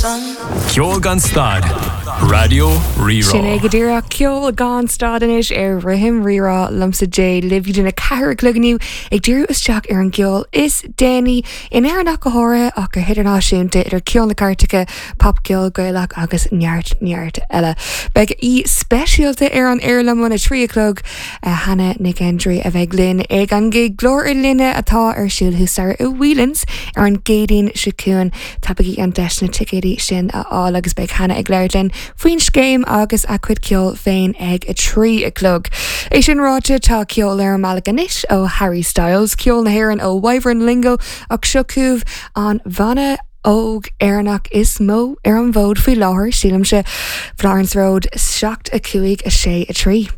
Ceol gan stad, Raidió Rí-Rá. Sin é go díreach, ceol gan stad anois ar Rithim Rí-Rá liomsa Jay libh go dtí a 4 a chlog inniu ag díriú isteach ar an gceol is déanaí in Éirinn ach go háirithe ach go hidirnáisiúnta idir ceol na gcairteacha, popcheol Gaelach agus neart neart eile. Beidh aoi speisialta ar an aer liom óna 3 a chlog, Hannah Nic Aindrí a bheidh linn ag an gig Glór ar Líne atá ar siúl thuas staighre i Whelan's ar an gCéadaoin seo chugainn. Tapaígí an deis na ticéidí sin a fháil agus beidh Hannah ag labhairt linn faoin scéim agus a cuid ceoil féin ag 3 a chlog. É sin ráite, tá ceol ar an mbealach anois ó Harry Styles, ceol na hÉireann ó Wyvern Lingo ach seo chugaibh an bhanna óg Éireannach is mó ar an bhfód faoi láthair, sílimse, Florence Road 7, 5, 6, 3.